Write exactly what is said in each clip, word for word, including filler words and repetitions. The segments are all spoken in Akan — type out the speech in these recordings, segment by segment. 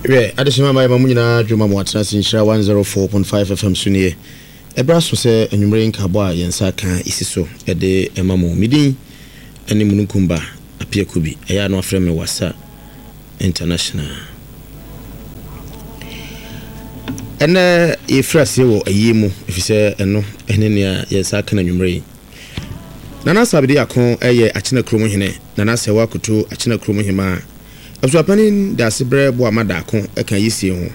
Hwɛ, adehyema ma yɛma mo nyinaa dwuma mo atena ase Nhyira one oh four point five F M so nie. Ɛberɛ aso sɛ anwummere nkabɔ a yɛn nsa ka isi so ɛde ɛma mo. Medin ɛne Mununkumba Apiakubi. Ɛyɛ a no afrɛ me Wasa International. Ɛnɛ yɛfiri aseɛ wɔ ayie mu, ɛfiri sɛ ɛno ɛne nea yɛn nsa ka no anwummere yi. Nana Sabede Ako ɛyɛ Akyena kurom hene. Nana Sɛwa Akoto, Akyena kurom hemaa. Abusuapanin Dasebrɛ Boama Daako ɛka yisie ho.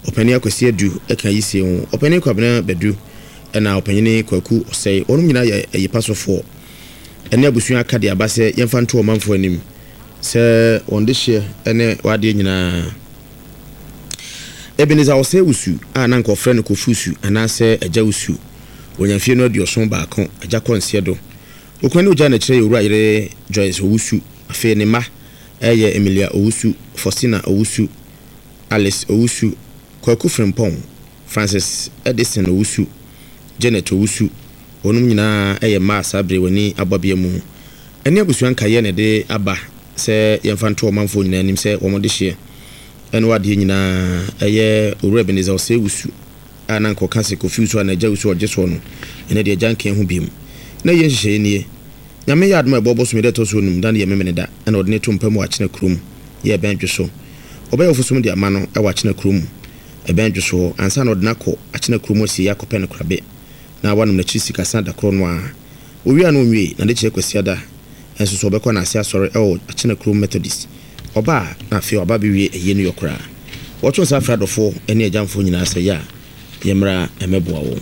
Ɔpanin Akwasi Adu ɛka yisie ho. Ɔpanin Kwabena Badu ɛna ɔpanyini Kwaku Ɔsɛe. Wɔn nyinaa yɛ ayipa sofoɔ. Ɛne abusua aka de aba sɛ yɛmfa nto ɔmanfoɔ anim sɛ wɔn de hyeɛ ɛne wadeɛ nyinaa. Ebenezer Ɔsɛe Wusu a na nka ɔfrɛ no Kofi Wusu anaasɛ Agya Wusu. Wɔnya mfie no aduɔson baako. Agya kɔ nseɛ do. Okun ne ogya n'akyerɛ yɛ Owura yere Joyce Owusu. Afei ne mma ɛyɛ Emilia Owusu, Faustina Owusu, Alice Owusu, Kwaku Frimpong, Francis Edison Owusu, Janet Owusu. Wɔnom nyinaa ɛyɛ mmaa saa bere w'ani abɔbea mu. Ɛne abusua nkaeɛ na ɛde aba sɛ yɛmfa nto ɔmanfoɔ nyinaa anim sɛ wɔn de hyeɛ ɛne wadeɛ nyinaa ɛyɛ Owura Ebenezer Ɔsɛe Wusu a na nka ɔka sɛ Kofi Wusu a na Agya Wusu ɔgye soɔ no, ɛnɛ deɛ agya nka ho biom. Na yɛ nhyehyɛeɛ nie: Nyame yɛ adom a, ɛbɔ bosome dɛ ɛtɔ so onum da no yɛ Memene da, ɛna ɔde ne to mpa mu wɔ Akyena kurom yɛ ɛbɛn dwo so. Ɔbɛyɛ ɔfosom de ama no ɛwɔ Akyena kurom ɛbɛn dwo so hɔ ansa na ɔde no akɔ Akyena kurom asie akɔpɛ no korabe na wanom n'akyiri sikasa da korɔ no a owie a no onwie na de kyerɛ Kwasiada ɛnso so ɔbɛkɔ n'ase asɔre ɛwɔ Akyena kurom Methodist. Ɔba a na afei ɔba bɛwie ɛyie no yɛ koraa. Wɔto nsa afrɛ adɔfoɔ ne agyamfoɔ nyinaa sɛ yɛ a yɛmmra ɛmɛboa wɔn.